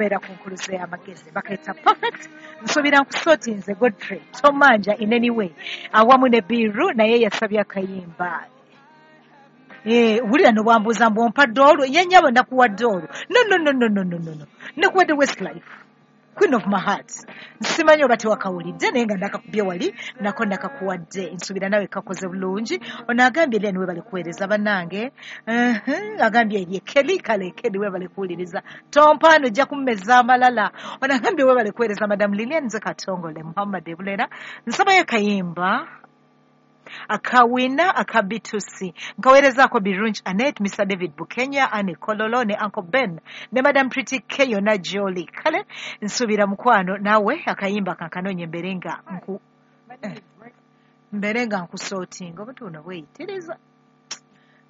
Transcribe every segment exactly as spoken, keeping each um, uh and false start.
Okubeera ku Nkuluze y'Amagezi bakayita Perfect. Nsuubira nkusootinze Godfrey Tomanja in any way awamu ne Biru, naye yasabye akayimba. Eh, wulira nobwambuuza mbu ompadde olwo ye nnyabo, nakuwadde olwo. No, no, no, no, no, no, no, no, nakuwadde Westlife, Queen of My Heart. Simanyi oba tewakawulidde, naye nga nakakubye wali nako nakakuwadde. Nsuubira nawe kakoze bulungi. Ono agambye, "Lilian, webale kuweereza bannange." Uh-huh. Agambye erye Keli. Kale Keli, webale kuwuliriza. Tompaano, ojja kummeza amalala. Ono agambye, "Webale kuweereza, Madam Lilian. Nze Katongole Muhammad Ebulera, nsabayo kayimba akawina aka B two C. Nkaweerezaako Birungi Anet, Mister David Bukenya, Anne Kololo ne Uncle Ben ne Madam Pretty K yonna gyoli." Kale nsuubira mukwano naawe akayimba kankanoonya mbere nga nku eh, mbere nga nkusootinga obuntu buno bweyitiriza,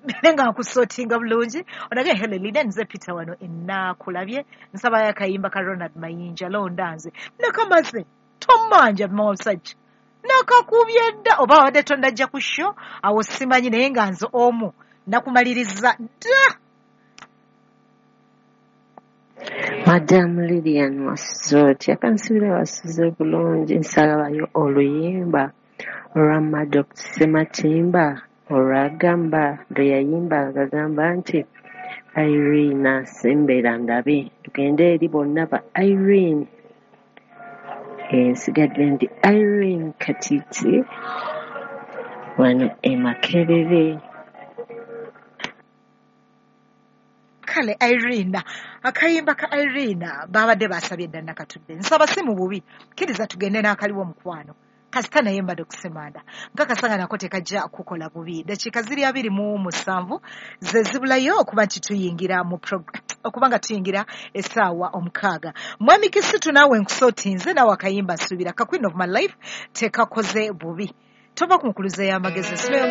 mbere nga nkusootinga bulungi. Onage, "Hello Lilian, nze Peter wano enaakulabye. Nsabayo akayimba ka Ronald Mayinja, Londa Nze." Nakamaze, tomanja musajja, nakakubye dda. Oba wabadde tonnajja ku show awo simanyi, naye nga nze omu nakumaliriza dda. Madamu Lilian, wasuze otya? Kansubire wasuze bulungi. Nsalabayo oluyimba olwa Maddox Ssematimba olwagamba lwe yayimba ng'agamba nti Irene sembera ndabe. Tugende eri bonna ba Irene. Nsigadde ndi Irene Katiti wano e Makerere. Kale Irene, akayimba ka Irene babadde basabye dda, nakatudde. Nsaba si mu bubi, kkiriza tugende n'akaliwo mukwano, kasita naye mbadde okusemanda nkakasanga nako tekajja kukola bubi. Dakiika ziri abiri mu musanvu ze zibulayo okuba nti tuyingira mu okuba nga tuyingira essaawa omukaaga. Mwami Kisitu, naawe nkusootinze naawe akayimba, nsuubira ka Queen of My Life tekakoze bubi. Tova ku Nkuluze y'Amagezi.